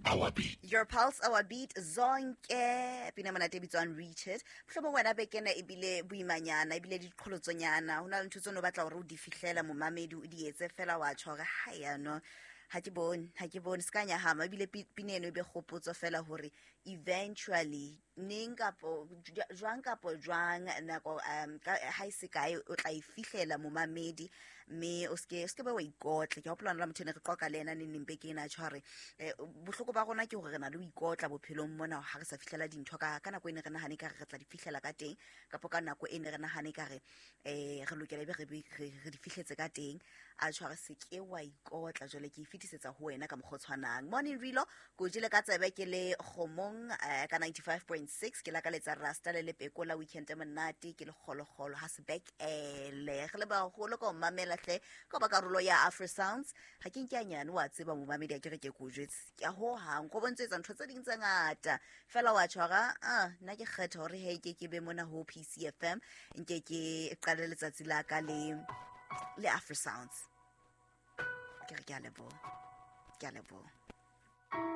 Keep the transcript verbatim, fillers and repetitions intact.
our beat. Your pulse, our beat, zonke pina monate e bitswang Reach It. Mohlomong wena beke ena ebile boimanyana, ebile le diqholotsonyana, ho na le ntho tseo o batla hore o di fihlela momamedi, o di etse fela wa tjho hore ha ya no, ha ke bone, ha ke bone, se ka nyahama. Ebile pi-, pina eno e be kgopotso fela hore eventually neng kapo jwang kapo jwang nako, um, ka, ha e se kae o tla e fihlela momamedi, mme o ske, o ske be wa ikotla. Ke hopola hona le motho e ne re qoqa le yena neng neng beke ena, a tjho hore, eh, bohloko ba rona ke hore re na le ho ikotla bophelong mona ha re sa fihlela dintho ka, ka nako e ne re nahane ekare re tla di fihlela ka teng, kapo ka nako e ne re nahane ekare, eh, re lokela ebe re be, re, re di fihletse ka teng. A tjho hore se ke wa ikotla. Jwale ke e fetisetsa ho wena ka mokgwa o tshwanang. Morning Rilo, ke o jele ka tsebe ke le kgomong, eh, ka ninety-five point six, ke lakaletsa Rasta le Lepeko la weekend e monate, ke le kgolokgolo ha se back ele. Re le baholo ka ho mamela hle, ka ba karolo ya Afro Sounds. Ha ke nke nyane wa tseba momamedi a ke re ke ko jwetse. Ke a ho hang, go bontsha ntho tse ding tse ngata. Fela wa tjhora, ah, nna ke kgetha hore he ke ke be mona ho P C F M, nke ke qale letsatsi la ka le, le Afro Sounds. Ke re ke a leboha. Ke a leboha.